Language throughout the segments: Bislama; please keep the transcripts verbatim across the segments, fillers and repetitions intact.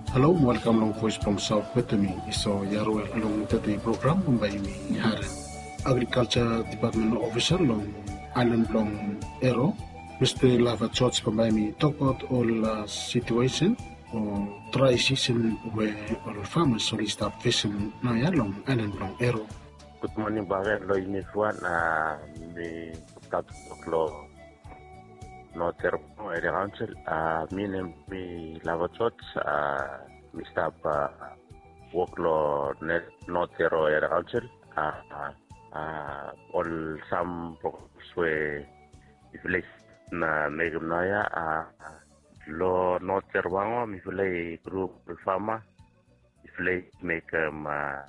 Halo, welkam long Voice blong Saot wetem mi, Esau Yarwel. Long tede program bambae yumi harem agrikalja dipatmen ofisa long aelan blong Ero, Mista Lava George, bambae yumi tokbaot ol, a, situesen o drae sisen we ol famas oli stap fesem naoia long aelan blong Ero. Gud moning bakegen long yumi evriwan. A, mi stap wok long North Ero Area Council. A, mi nem mi Lava George. A, mi stap, a, wok long North Ero Area Council. A, a, a, ol sam programs we mifala i mekem naoia, a, long North Ero Mango mifala i grup ol fama, mifala i mekem, a,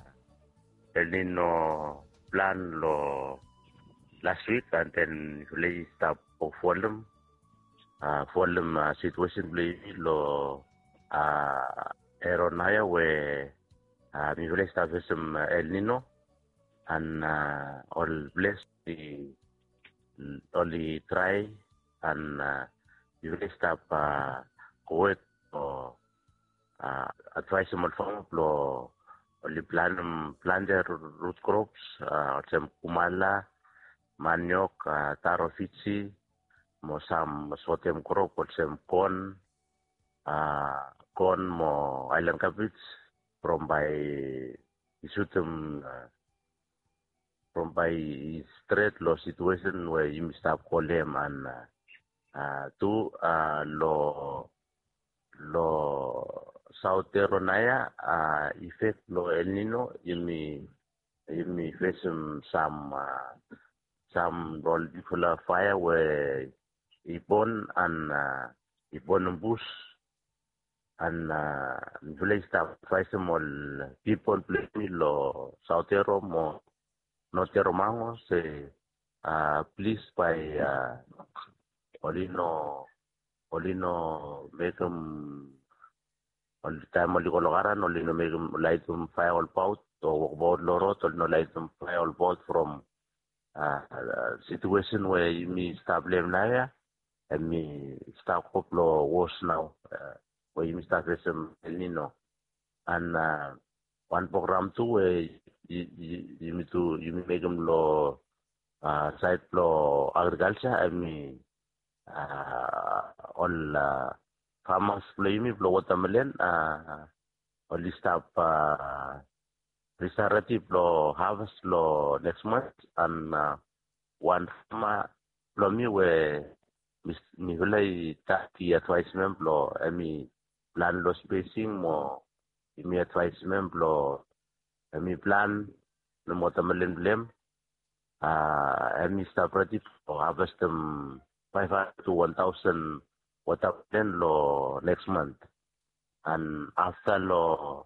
El Nino plan long las wik, and then mifala i stap folem, a, folem, a, situesen blong yumi long, a, Ero naoia we, a, mifala i stap fesem, a, El Nino, and, a, ol ples i, oli drae, and, a, mifala i stap, a, go wet o, a, advaesem ol fama blong oli planem plante rut krops, a, olsem kumala, maniok, a, taro Fiji, mo sam sotem krop olsem kon, a, kon mo aelan kabej, from bae i sutem, a, from bae i stret long situesen we yumi stap go long hem, and, a, a, tu, a, long, long Saot Ero naoia, a, efek blong El Nino yumi, yumi fesem sam, a, sam ol bigfala faea we i bon, and, a, i bonem bus, and, a, mifala i stap advaesem ol pipol blong yumi long Saot Ero mo North Ero Mango se, a, plis bae, a, oli no, oli no mekem, ol taem oli go long karan oli no mekem, laitem faea olbaot, o wokbaot long rod oli no laitem faea olbaot from, a, a, situesen we yumi stap long hem naoia, hemi stap go blong wos nao, a, we yumi stap fesem El Nino. And, a, wan program tu we yu, yu, yumi tu, yumi mekem long, a, saed blong agrikalja, hemi, a, ol, a, famas blong yumi blong wotamelen, a, oli stap, a, oli stap redi blong haves long neks mant, and, a, wan fama blong mi we mi, mifala i stap i advaesem hem blong hemi plan long spesing mo yumi advaesem hem blong hemi planem wotamelen blong hem, a, hemi stap redi blong havestem faef handred tu wan taosen wotamelen long neks mant. And afta long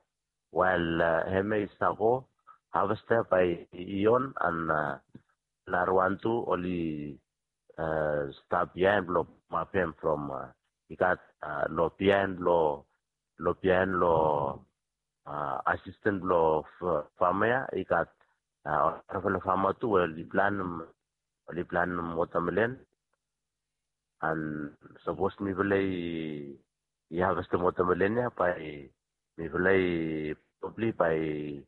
wael, a, hemia i stap go, havesta bae i on, and, a, narawan tu oli, a, stap biaen blong pamap hem from, a, i gat, a, long biaen long, long biaen long, a, asisten blong fama ya i gat, a, ol narafala fama tu we oli planem, oli planem wotamelen. And sapos mifala i, i havestem wotamelen ya bae mifala i, probably bae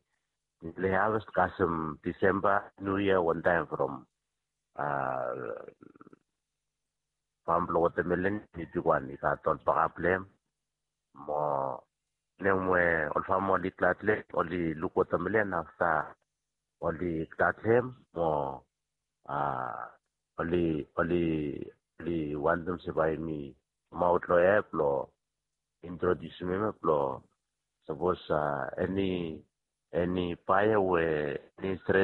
mifala i haves kasem Disemba, Niu Yia wantaem from, a, fam blong wotamelen i bigwan, i gat ol bakap blong hem. Mo nem we ol fama oli glad long hem, oli luk wotamelen afta oli glad long hem mo, a, oli, oli, oli wantem se bae mi kamaot long hem blong introdiusim hem blong sapos, a, eni, eni baea we eni intre,